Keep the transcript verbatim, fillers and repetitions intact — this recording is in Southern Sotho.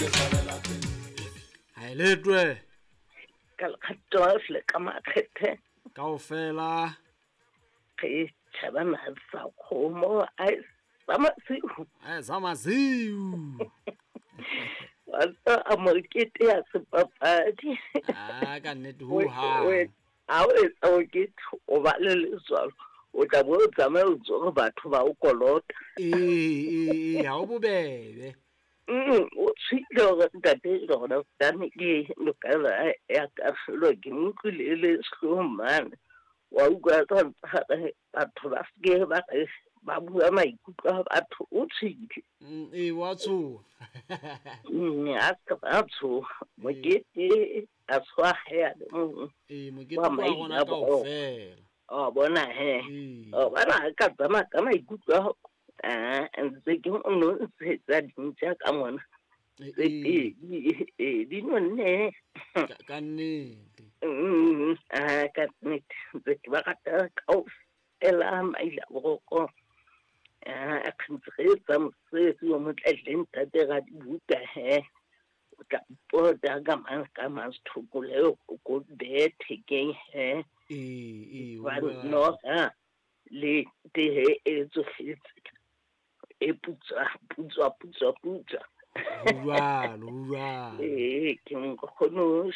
Ha e letwe. Ka lekgato le ka makgethe. Kaofela. Re tjhaba sa kgomo a sa masiu. A sa masiu. Wa tseba a mokete ya sepapadi. Ah, ka nnete ho ha. Ha o etsa mokete o ba le letswalo. O tla bo o tsamaya o ntso re batho ba o kolota. Ee, ee, ee, ha o bobebe. Mm, o tshwile hore ntate lona tane ke lokela ya kahlolo ke mo utlwile le sehloho mane. Wa utlwa tsa batho ba seke ba re ba bua maikutlo a batho o tshwile. Mm, ee, wa tshoha. Mm, a se ba tshoha. Mokete a tshwa hae le mong. Ee, mokete wa rona kaofela. O bona he. Ee. O bona ha ka tsamaya ka maikutlo a ah, ntse ke o no ntshetsa dintja ka mona. Ee, Tse pedi, ee, di nonne. Ka, ka nnete. Mm, ah, ka nnete. Ntse ke ba rata kaofela maila boroko. Ah, ntse re etsa mosebetsi wa motle le ntate Radibuka he. O tla mpota ka mang ka mang sethoko leo ko behe thekeng he. Ee, ee, Ba ho jwalo. noha le tehe e tsofetse. E putswa, putswa, putswa, putswa. Ho jwalo, ho jwalo. Ee, ke nkgono